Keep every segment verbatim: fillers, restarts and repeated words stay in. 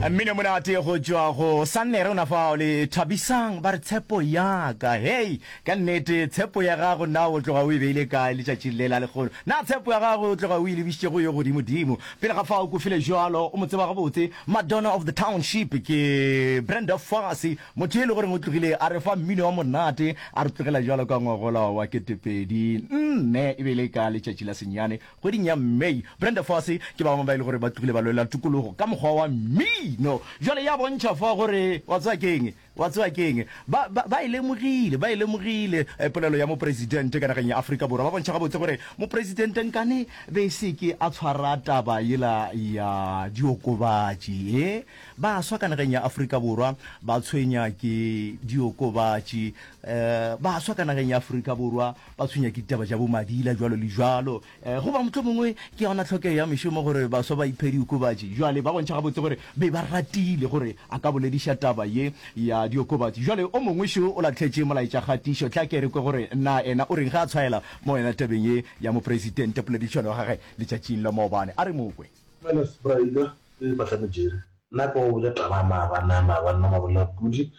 Mmino monate go tšwa go Sannere ona fao le Thabisang ba re tshepo ya ka. Hei, ka nnete tshepo ya gago na o tloga o e beile kae letšatšing le la lekgono? Na tshepo ya gago o tloga o e lebišitše go yo godimodimo? Pele ga fao Kofile Jwalo o mo tseba gabotse, Madonna of the Township ke Brenda Fassie, motho e le goreng o tlogile a re fa mmino wa monate a re tlogela jwalo ka ngwagola wa ketepedi nne e be e le ka letšatši la senyane Kgweding ya May, Brenda Fassie ke ba bangwe ba e le gore ba tlogile ba lwela tokologo ka mokgwa wa mmino. Bjale ya bontšha fa gore wa tseba ke'ng, wa tseba ke'ng. Ba, ba, ba e lemogile, ba e lemogile polelo ya mopresidente ka nageng ya Afrika Borwa. Ba bontšha gabotse gore mopresidente nkane be se ke a tshwara taba yela ya diokobatši. E, baswa ka nageng ya Afrika Borwa ba tshwenya ke diokobatši. E, baswa ka nageng ya Afrika Borwa ba tshwenya ke ditaba tša bomadila jwalo le jwalo. E, goba mohlomongwe ke yona tlhokego ya mešomo gore baswa ba iphe diokobatši. Bjale ba bontšha gabotse gore be ba ratile gore a ka bolediša taba ye ya diokobatši. Bjale o mongwe šo o lahletše molaetšakgatišo. Tla ke re kwe gore na ena o reng ge a tshwaela mo yona tabeng ye ya mopresidente poledišano ya gagwe letšatšing la maobane. A re mo kwe. Dumela Sbraida le Mahlame Jerry. Nna ka go botša taba ya maabane ya maabane la Mabolapudi,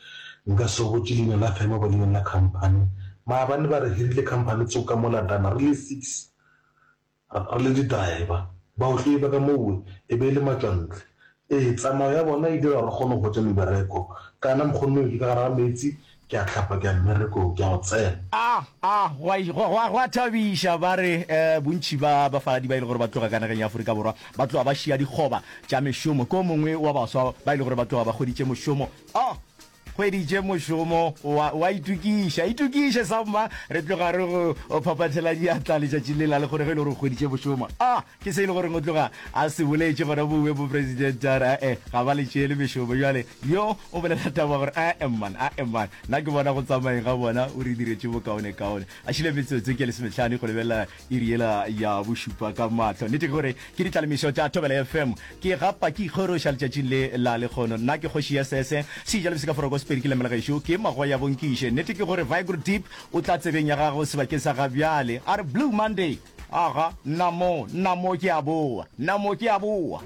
nka se go botše leina la firm goba leina la company. Maabane ba re hirile company tsoko ka mola Dana re le six re le di driver. Baotledi ba ka mowe e be e le matšwantle. Ee, tsamao ya bona e dira gore re kgone go hwetša mebereko. Kana mokgonnoe ke ka gare ga meetse, ke a hlapa ke ya mmerekong, ke a go tsena. A, a, go a, go, go a, go a thabiša. Ba re, eh, bontši ba bafaladi ba e le gore ba tloga ka nageng ya Afrika Borwa, ba tloga ba šia dikgoba tša mešomo. Ke o mongwe wa baswa ba e le gore ba tloga ba hweditše mošomo. Oh! Hweditše mošomo, wa, wa itokiša. Itokiše, samma. Re tloga re go phaphathela diatla letšatšing le la lehono ge e le gore o hweditše mošomo. Ah! Ke se e le goreng o tloga a se boletše gona mowe mopresidente a re ae ga ba le tšeele mešomo. Bjale yo o bolela taba gore ae man, ae man, nna ke bona go tsamayeng ga bona o re diretše bokaonekaone. A šile metsotso ke lesomehlano go lebelela iri yela ya bošupa ka mahlo. Nnete ke gore ke ditlalemišo tša Thobela F M. Ke gapa ke ikgoroša letšatšing le la lekgono. Nna ke kgoši ya sese, seja le bosekaforoko sepedi ke lemela gešo, ke magoya bonkiše. Nnete ke gore Vigro Deep o tla tsebeng ya gago sebakeng sa gabjale. A re Blue Monday! Aga, nna mo, nna mo ke a boa, nna mo ke a boa.